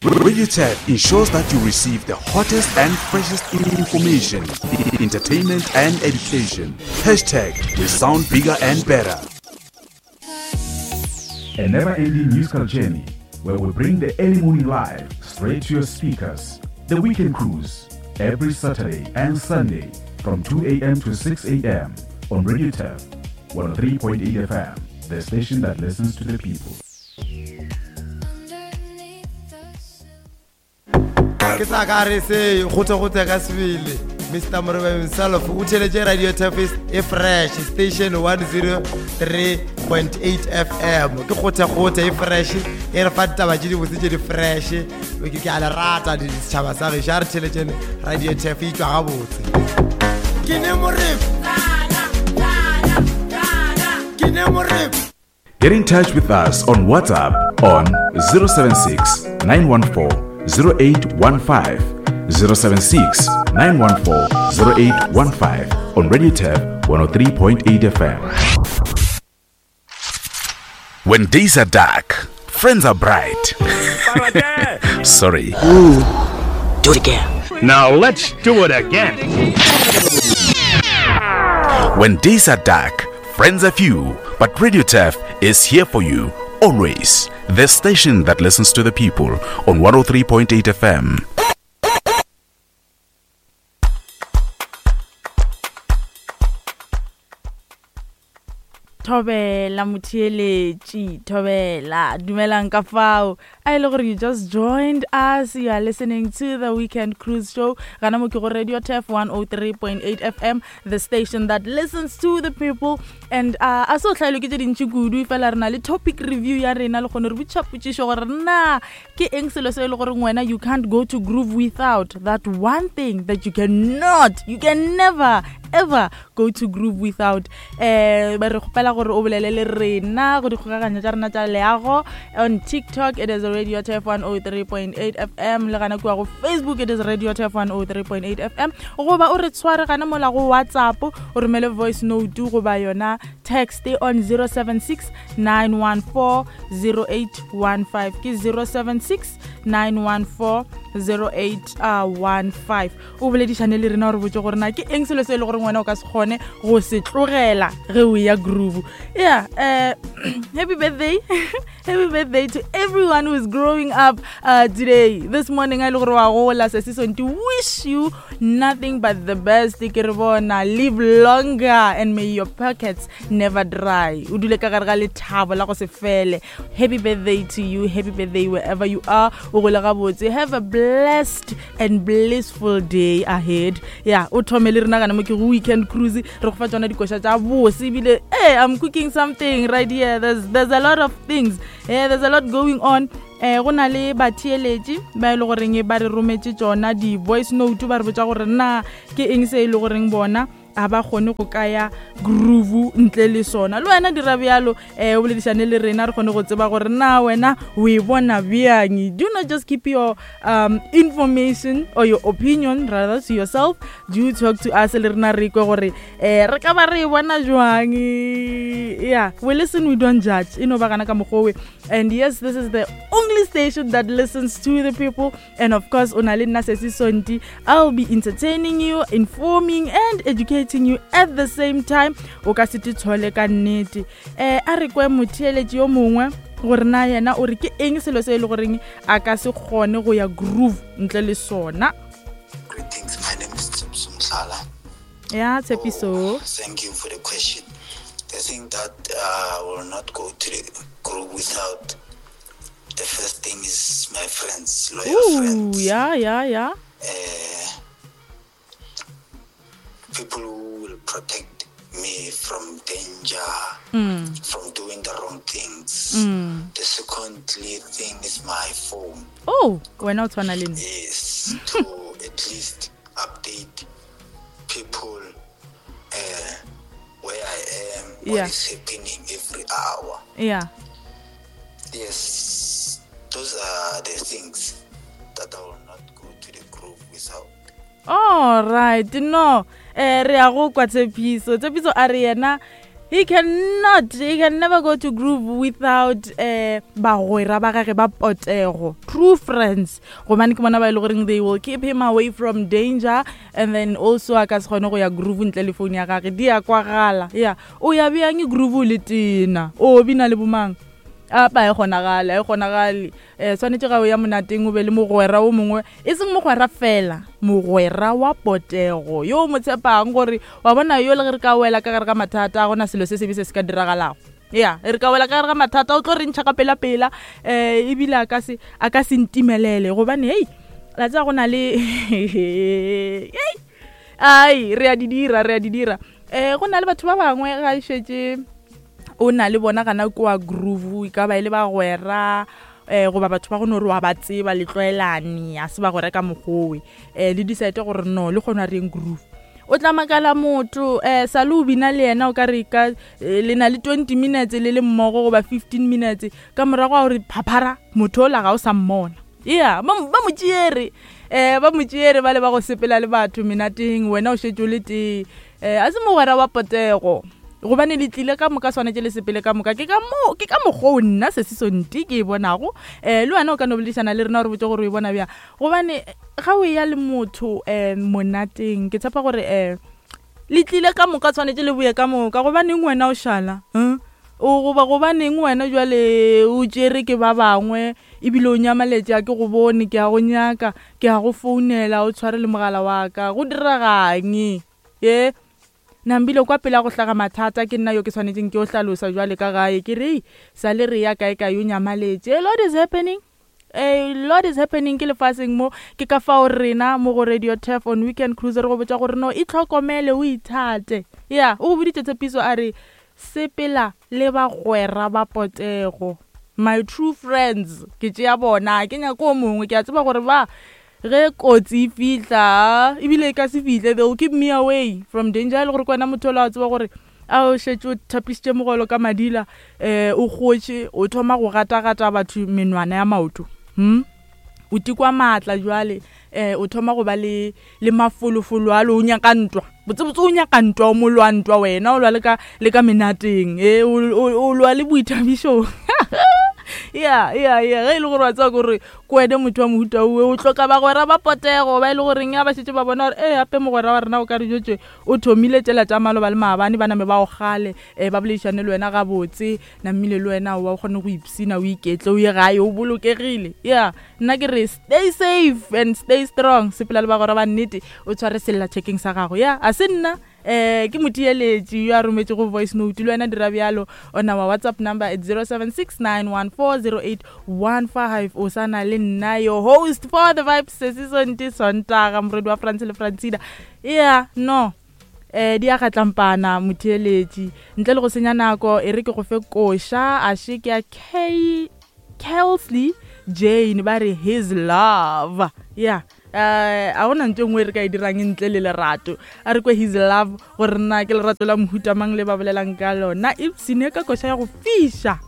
Radio Turf ensures that you receive the hottest and freshest information, entertainment, and education. Hashtag we sound bigger and better. A never ending musical journey where we bring the early morning live straight to your speakers. The Weekend Cruise, every Saturday and Sunday from 2 a.m. to 6 a.m. on Radio Turf 103.8 FM, the station that listens to the people. ke sa ka re se gote-gote ka sebele mr morebe himself o theletše radio tafis e fresh station 103.8 fm ke kgothe-kgothe e fresh e re fa ditaba tše dibotse tše di fresh ke a le rata setšhaba sa gešo a re theletšene radio taf e tšwa gabotse ke ne morebe ke ne morebe Get in touch with us on WhatsApp on 076 914 0815. 076 914 0815 on Radio Turf 103.8 FM. When days are dark, friends are bright. Sorry. Ooh, do it again. Now let's do it again. When days are dark, friends are few, but Radio Turf is here for you always. The station that listens to the people on 103.8 FM. Thobela motheeletši, thobela, dumelang ka fao. A e le gore you just joined us, you are listening to the Weekend Cruise Show. Gana mo ke go Radio Turf 103.8 FM, the station that listens to the people. And uh, a se o hlaelwe ke tše dintši kudu, fela re na le topic review ya rena le kgone re botšiša potšišo gore na ke eng selo se e le gore wena you can't go to groove without that one thing that you cannot, you can never ever go to groove without eh ba re kgopela gore o bolele le rena go dikgokaganyo tša rena tša leago on tiktok it is radio tf 103.8 fm le gana kua go facebook it is radio tf 103.8 fm goba o re tshware gana mola go whatsapp o romele voice note goba yona text on 076 914 0815 ke 076 914 0815 o boledišane le rena gore botse gore na ke eng selo se e le gore wena o ka se kgone go se tlogela ge o ya groove yeah uh, happy birthday happy birthday to everyone who is growing up uh, today this morning a e le gore wa gola se se sonti wish you nothing but the best ke re bona live longer and may your pockets never dry o dule ka gare ga lethabo la go se fele happy birthday to you happy birthday wherever you are o gole gabotse have a blessed and blissful day ahead ya o thome le rena gana mo ke go weekend cruise re go fa tsona dikoša tša bose ebile hey i'm cooking something right here there's, there's a lot of things yeah, there's a lot going on eh go na le batheeletši ba e le goreng ba re rometše tsona di-voice note ba re botsa gore na ke eng se e le goreng bona a ba kgone go kaya groove ntle le sona le wena dira bjalo um o boledišane le rena re kgone go tseba gore na wena o e bona bjang do not just keep your um, information or your opinion rather to yourself do talk to us le rena re kwe gore um re ka ba re e bona jwang yeah we listen we don't judge e no ba gana ka mokgowe and yes this is the only station that listens to the people And of course, o na le nna Sesi Sonti. I'll be entertaining you, informing and educating you at the same time. O ka se tshole ka nnete. Eh a re kwe motheeletši yo mongwe gore na yena o re ke eng selo se e le goreng a ka se kgone go ya groove ntle le sona. Greetings, my name is Tshepiso Mhlala. Ya Tshepiso. Oh, thank you for the question. The thing that uh, will not go to the group without The first thing is my friends, loyal Ooh, friends. yeah, yeah, yeah. Uh, people who will protect me from danger, mm. from doing the wrong things. Mm. The secondly thing is my phone. Oh, wena o tshwana le nna. Yes, to at least update people uh, where I am, what Yeah. is happening every hour. Yeah. Yes, those are the things that I will not go to the group without. All right, no. Eh re ya go kwa Tshepiso. Tshepiso a re yena He cannot, he can never go to groove without eh bagwera ba gage ba potego, true friends. Gobane ke bona ba e le goreng they will keep him away from danger and then also a ka se kgone go ya groove ntle le phone ya gage. Di a kwagala. Yeah. O ya bjang groove o le tena? O bina le bomang? Apa e kgonagale, e kgonagale. Um swanetše ga o ya monateng o be le mogwera o mongwe, e seng mogwera fela, mogwera wa potego yo o mo tshepang gore wa bona yo le ge re ka wela ka gare ga mathata a gona selo se sebe se se ka diragalago. Ya, re ka wela ka gare ga mathata o tlo re ntšha ka pela-pela um ebile a ka se a ka se ntimelele gobane hei la tseba go na le ai re a di dira re a di dira um go na le batho ba bangwe ga e šetše o na le bona gana kua groove e ka ba e le bagwera um goba batho ba go no re wa ba tseba le tlwaelane a se bagwera ka mokgowe um le decide gore no le kgona reng groove o tla makala motho um sa le o bina le yena o ka re ka eh, le na le 20 minutes le le mmogo goba 15 minutes ka morago ga gore phaphara motho ola ga o sa mmona ya ba mo tšeere um ba mo tšeere ba le ba go sepela le batho menateng wena o šetše o le tee um a se mogwera wa potego gobane le tlile ka moka swanetše le sepele ka moka ke ka mo ke ka mokgwa o nna se se sonti ke e bonago um le wena o ka no boledišana le rena gore botse gore o e bona bjang gobane ga o ya le motho um monateng ke tshepa gore um le tlile ka moka tshwanetse le boye ka moka gobaneng wena o šala um o goba gobaneng wena jwale o tšere ke ba bangwe ebile o nyamaletše a ke go bone ke a go nyaka ke a go founela o tshware le mogala wa ka go diregang ye Nambile kwa pele a go hlaga mathata ke nna yo ke swanetšeng ke yo hlalosa jwale ka gae ke re sa le re ya kae kae o nyamaletše a lot is happening a lot is happening ke lefaseng mo ke ka fao rena mo go radio turf on weekend cruise re go botša gore no itlhokomele o ithate ya o go boditše tshepiso a re sepela le bagwera ba potego my true friends ke tšea bona ke nyako o mongwe ke a tseba gore ba Ge kotsi e fihla, ebile e ka se fihle, they will keep me away from danger. E le gore ke wena motho ola wa tseba gore a o šetše o thapišitše mogolo ka madila, um o kgotše, o thoma go gata-gata batho menwana ya maoto. Hmm? O tikwa maatla jwale, um o thoma go ba le le mafolofolo a le o nyaka ntwa. Botsebotse o nyaka ntwa, o molwa ntwa wena, o lwa le ka le ka menateng, e o lwa le boithabišong. Ya, ya, ya, ge e le gore wa tseba gore ke wene motho wa mohuta owe, o hloka bagwera ba potego, ba e le goreng ya ba šetše ba bona gore ee gape mogwera wa rena o ka re jotše o thomile tšela tša maloba le maabane, ba name ba o gale, um ba boledišane le wena gabotse, namile le wena wa o kgone go ipsina, o iketle, o ye gae o bolokegile. Ya, nna ke re stay safe and stay strong, sepela le bagwera ba nnete, o tshware sellathekeng sa gago. Ya, a se nna eh ke motheeletši yo a rometšego voice note le wena dira bjalo on our whatsapp number at 0769140815 o sa na le nna your host for the vibes sesi sonti sontaga morwedi wa france le francina yeah no eh di a gatlampana motheeletši ntle le go senya nako e re ke go fe koša a še ke ya k kelsley jane ba re his love yeah um a gona ntho e nngwe e re ka e dirang ntle le lerato a re kwe his love gore na ke lerato la mohuta mang le ba bolelang ka lona ipsene ka koša ya go fiša.